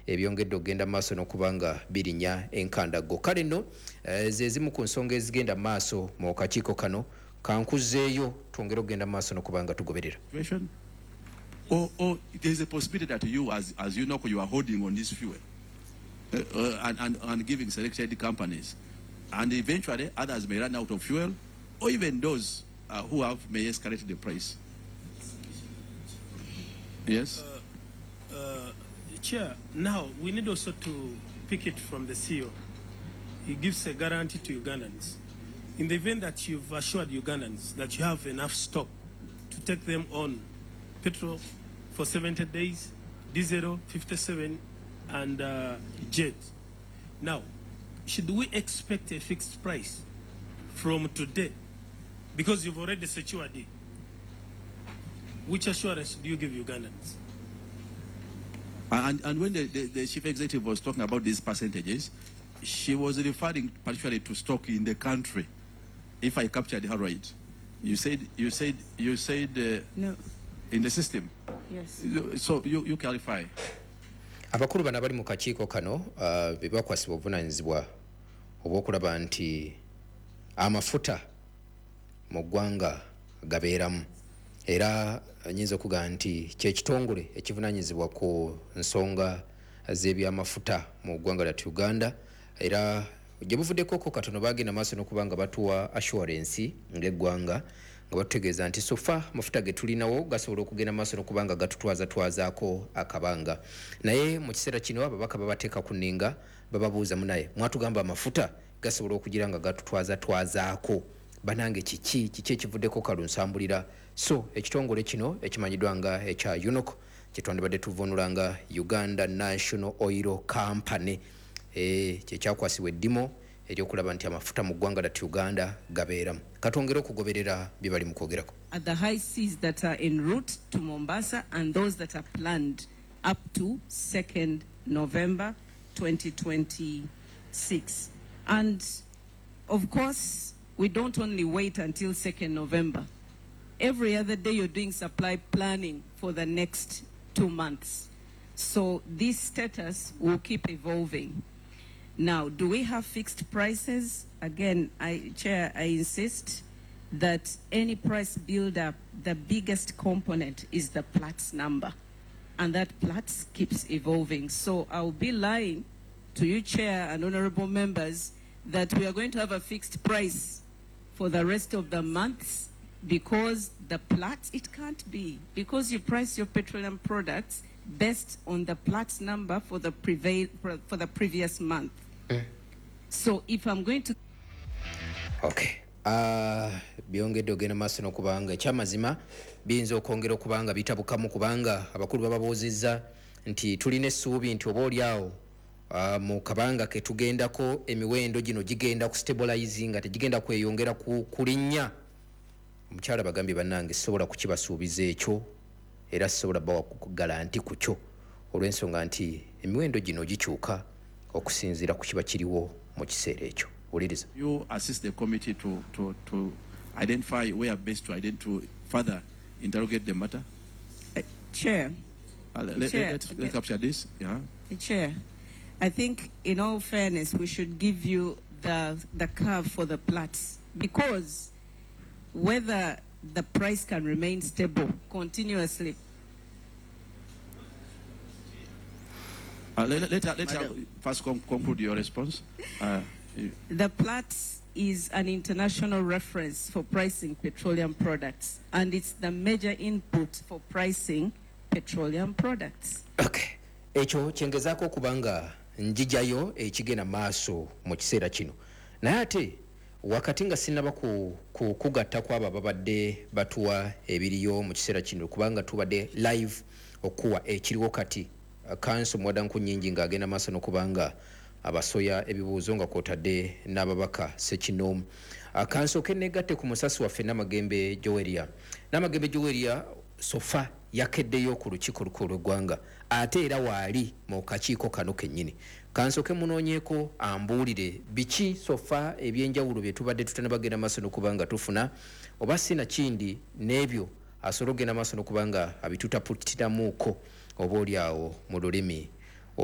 Ebyongedde okugenda maaso n'okuba nga birinya enkandaggo. Kale nno ze zimu ku nsonga ezigenda maaso mu kakiiko kano. Kankuzeeyo twongere okugenda maaso n'okuba nga tugoberera. Or there's a possibility that you, as you know, you are holding on this fuel and giving selected companies. And eventually others may run out of fuel, or even those who have may escalate the price. Yes? Chair, now we need also to pick it from the CEO. He gives a guarantee to Ugandans. In the event that you've assured Ugandans that you have enough stock to take them on petrol for 70 days, diesel 57, and jet. Now, should we expect a fixed price from today? Because you've already secured it. Which assurance do you give Ugandans? And when the chief executive was talking about these percentages, she was referring particularly to stock in the country. If I captured her right, you said no. In the system. Yes. So you clarify. Abakulu bano abali mu kakiiko kano be bakwasibwa obuvunaanyizibwa obw'okulaba nti amafuta mu ggwanga gabeeramu, era nnyinza okugamba nti kye kitongole ekivunaanyizibwa ku nsonga z'ebyamafuta mu ggwanga lyattu Uganda. Era gye buvuddekoko katono bagenda maaso n'okuba nga batuwa assurance ng'eggwanga, nga batutegeeza nti sofa amafuta ge tulinawo gasobola okugenda maaso n'okuba nga gatutwazatwazaako akabanga. Naye mu kiseera kino ababaka babateeka ku nninga, bababuuza, munaye mwatugamba amafuta gasobola okugira nga gatutwazatwazaako, banange kiki kiki ekivuddeko kalunsambulira? So ekitongole kino ekimanyiddwa nga ekya UNOC, kyetwandibadde tuvunula nga Uganda National Oil Company, kyekyakwasibwa eddimu ery'okulaba nti amafuta mu ggwanga lyattu Uganda gabeeramu. Katwongere okugoberera bye bali mu kwogerako. At the high seas that are en route to Mombasa and those that are planned up to 2nd November 2026. And of course, we don't only wait until 2nd November. Every other day you're doing supply planning for the next 2 months. So this status will keep evolving. Now, do we have fixed prices? Again, Chair, I insist that any price build-up, the biggest component is the Platts number, and that Platts keeps evolving. So I'll be lying to you, Chair, and honorable members, that we are going to have a fixed price for the rest of the months, because the Platts, it can't be, because you price your petroleum products based on the Platts number for the previous month. So if I'm going to... Okay. Byongedde ogenda maaso n'okubanga ekyamazima biyinza okwongera okubanga bitabukamu, kubanga abakulu bababuuzizza nti tulina essuubi nti oba oli awo mu kabanga ke tugendako emiwendo gino gigenda ku stabilizing, nga tegigenda kweyongera kulinnya. Omukyala bagambye, bannange sisobola kukibasuubiza ekyo, era sisobola bawa guaranty ku kyo, olw'ensonga nti emiwendo gino gikyuka okusinziira ku kiba kiriwo mu kiseera ekyo. Wuliriza. You assist the committee to identify where best to identify, to further interrogate the matter. Chair. Let's capture this. Yeah. Chair, I think in all fairness we should give you the curve for the Platts, because whether the price can remain stable continuously. Let her first conclude your response. The Platts is an international reference for pricing petroleum products, and it's the major input for pricing petroleum products. Okay. Ekyo kyengezaako okubanga njijayo ekigenda maaso mu kiseera kino. Naye ate wakati nga sinnaba kugatta ku abo ababadde batuwa ebiriyo mu kiseera kino, kubanga tubadde live okuwa ekiriwo kati. Kanso Muwada Nkunyingi ng'agenda maaso n'okubanga abasoya ebibuuzo nga kwotadde n'ababaka ssekinnoomu. Kansooke negatte ku musasi waffe Namagembe Joweria. Namagembe Joweria sofa yakeddeyo ku lukiiko olukulu lw'eggwanga, ate era waali mu kakiiko kano kennyini. Kansooke munoonyeeko ambuulire biki sofa ebyenjawulo bye tubadde tutanabagenda maaso n'okuba nga tufuna, oba si na kindi n'ebyo asobola okugenda maaso n'okuba nga abitutaputiramuuko oba oli awo mu lulimi